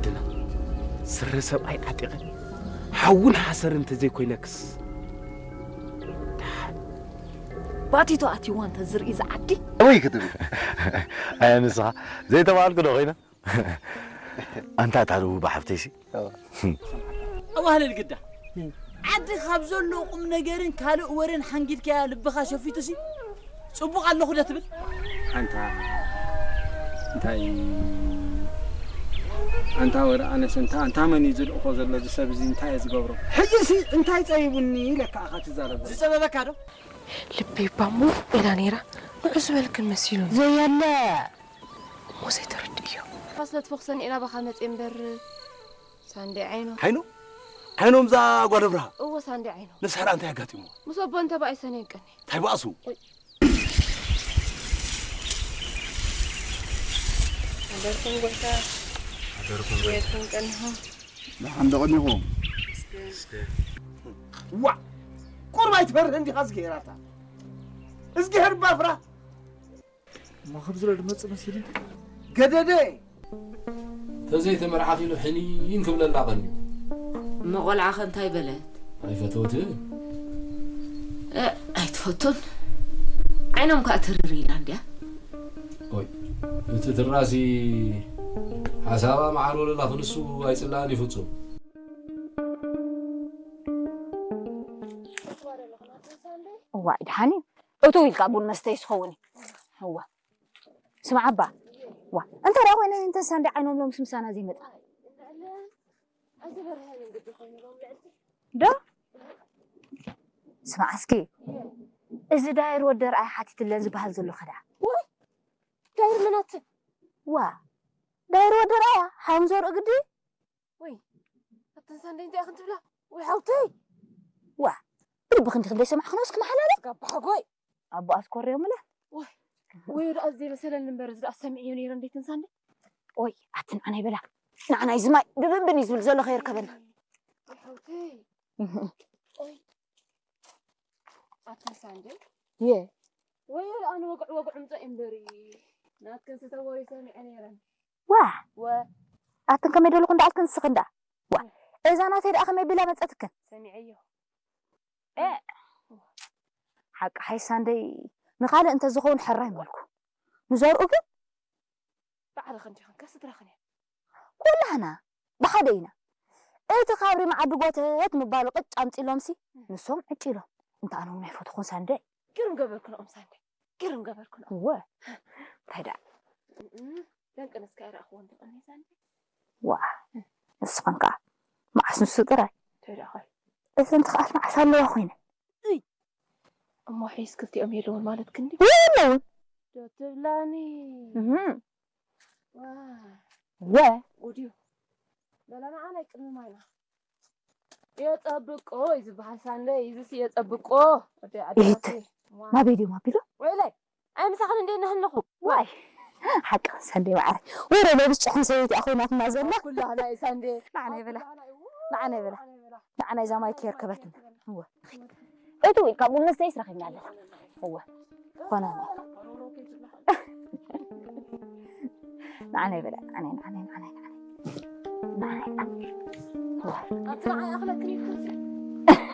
ድና ስረ ሰብኣይ ዓጢቐ ሓውን ሓሰር እንተዘይኮይነክስ። ባቲቶ ኣትይዋ እንተ ዝርኢ ዝዓዲ። ኣበይ ክትብል? ኣየ ንስኻ ዘይተባልኩ ዶ ኮይነ? ኣንታ እታ ርቡባ ሓፍተይሲ? ኣዋህልል ግዳ ዓዲ ካብ ዘሎ ቁም ነገርን ካልእ ወረን ሓንጊድካያ ልብኻ ሸፊቱሲ ጽቡቕ ኣለኹ ዶ ትብል? ኣንታ እንታይ ኣንታ ወረ ኣነስ እንታ ኣንታ መን እዩ ዝልእኾ ዘሎ እዚ ሰብ እዚ እንታይ እየ ዝገብሮ? ሕጂሲ እንታይ ጸቢቡኒ ኢለካ ኢኻ ትዛረብ ዘለኻ? ዝጸበበካ ዶ? ልበይ ባሞ ኢላ ነይራ። ንዑ ዝበልክን መሲሉኒ። ዘየለ እሞ ዘይተረድእዮ። ፋስለት ፎክሰን ኢና ባኻ መጽ እምበር ሳንዴ ዓይኖ። ዓይኖ? ዓይኖም እዛ ጓል ኣብርሃ? እዎ ሳንዴ ዓይኖ። ንስሕራ እንታይ ኣጋጢምዎ? ምስ ኣቦ እንተ ብኣይ ሰነ ይቀኒ። እንታይ ብኣሱ? ኣደርኩም ጎይታ። ኣደርኩም ጎይታ። የርኩም ቀንኹም። ደሓን ዶ ቀኒኹም? ዋ! ቁርብ ኣይትፈርህን ዲኻ እዝግሄር ኣታ? እዝግሄር እባ ፍራ። እሞ ከም ዝሎ ድመጽእ መሲሉ። ገደደ! ተዘይተመርዓኺ ኢሉ ሕኒን ክብለላ ቀንዩ። እሞ ቆልዓኸ እንታይ በለት? ኣይፈተወትን። እ፣ ኣይትፈቱን። ዓይኖም ከኣ ትርር ኢላ እንድያ። ኦይ፣ እቲ ትራሲ ሓሳባ መዓር ወለላ ክንሱ ኣይጽላእን እዩ ፍጹም። እዋይ፣ ደሓን እዩ። እቱ ኢልካ ቡን መስተይስ ክኸውን እዩ። እዋ። ስምዓ እባ። ዋ፣ እንታይ ደኣ ኮይነ እንተን ሳንዴ ዓይኖም ሎምስ ምሳና ዘይመጻ? ዶ? ስምዓ እስኪ። እዚ ዳይር ወዲ ርኣይ ሓቲትለን ዝበሃል ዘሎ ከ ደኣ? ወይ፣ ዳይር መናት? ዋ፣ ዳይር ወዲ ርኣያ፣ ሓም ዘርኡ ግዲ? ወይ፣ ኣተን ሳንዴ እንታይ ኢኽን ትብላ? ወይ ሓውተይ! ዋ፣ ብልብኺ እንዲኺ ዘይሰማዕኽን እስኪ መሓላለፍ? ጋባሓጎይ! ኣቦ ኣስኮርዮምላ። ወይ፣ ወይ፣ ደኣ ዘይመሰለኒ እምበር፣ እዚ ደኣ ሰሚዐዮ ነይረ እንዴት እንሳንዴ? ኦይ፣ ኣቲ ንዓናይ በላ። ንዓናይ ዝማይ ድብንብን እዩ ዝብል ዘሎ ከየርከበና። ወይ ሓውተይ! እህ። ኦይ፣ ኣቲ እንሳንዴ? የ። ወይ፣ ደኣ ንወግዕ ወግዕ ምጻእ እምበሪ። ናትክን ስተወሪ ሰሚዐ ነይረን። ዋ! ወ- ኣትን ከመይ ደለኹ እንዳኣልክን ንስኽን ደኣ? ዋ! እዛ ናተይ ደኣ ከመይ ቢላ መጸትክን? ሰሚዐዮ። እ! ሓቂ ሓይሳ እንደይ ንኻልእ እንተ ዝኸውን ሕራይ መልኩ። ንዘርኡ ግን? ባዕልኽን ዲኽን ከስድራኽን እያ። ኩላህና ብሓደ ኢና። እቲ ካብ ሪም ዓዲ ጎተት ምባሉ ቅጭ ኣምጺሎምሲ፣ ንሶም ዕጭ ኢሎም። እንተ ኣነ እውን ኣይፈትኹን ሳንደይ። ግርም ገበርክንኦም ሳንደይ። ግርም ገበርክንኦም። እወ። እንታይ ደኣ? እም፣ ደንቅነስካ ኣይረኣኽዎን ዲኽን ሳንደይ? ዋ፣ ንስኽን ከኣ መዓስ ንሱ ጥራይ? እንታይ ደኣ ኸ? እተን ትኽኣል መዓስ ኣለዋ ኮይነ? እይ! እሞ ሒስ ክልቲኦም የለውን ማለት ክንዲ? የለውን። ዶ ትብላኒ? እም። ዋ። ወ። ጉድ እዩ። በላ ንዓ ናይ ቅድሚ ማይና። የጸብቆ እዩ ዝበሃል ሳንደይ፣ እዚስ የጸብቆ። ወዲ ዓዲ ኢት። ናተይ። ዋ። ናበይ ድዮም ኣቢሎም? ወይለይ፣ ኣይ ምሳኽን እንዴ ነህለኹ? ዋይ። ሓቂ ሳንደይ ማዕረ። ወረ ለብስ ጭሕም ሰበይቲ እያ ኮይናትና ዘላ። ኩላህና እዩ ሳንደይ። ንዓና ይበላ። ኩላህና እዩ። ንዓና ይበላ። ንዓና ይበላ። ንዓና እዛ ማይ ከየርከበትና። እወ። እቱ ኢልካ ቡን መስተ ይስረኸኛ ኣለና። እወ። ኮነ። ንዓና ይበላ። ንዓና፣ ንዓና፣ ንዓና፣ ንዓና። ንዓና። እወ። ኣብቲ ንዓይ ኣኽለክን ይኩን